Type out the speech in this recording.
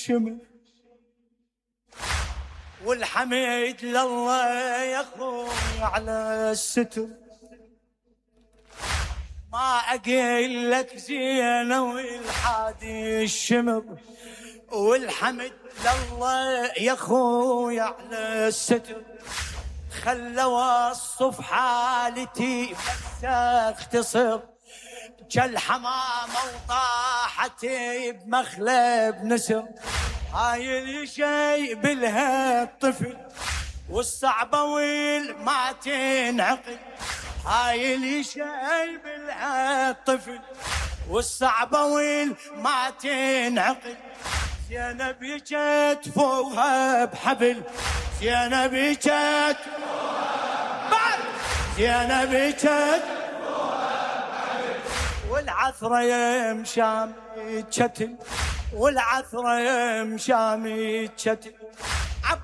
الشمر، والحمد لله يا اخوي على الستر. ما اقول لك زينه والحادي الشمر، والحمد لله يا اخوي على الستر. خلى وصف حالتي بس اختصر، كالحمامة وطاحت بمخلب نسر. هاي اللي شيء بالها الطفل والصعبة والما تنعقل، هاي اللي شيء بالها الطفل والصعبة والما تنعقل. زينب جت فوقها بحبل، زينب جت بعد، زينب جت والعثرة يمشام يتشتل، والعثرة يمشام يتشتل.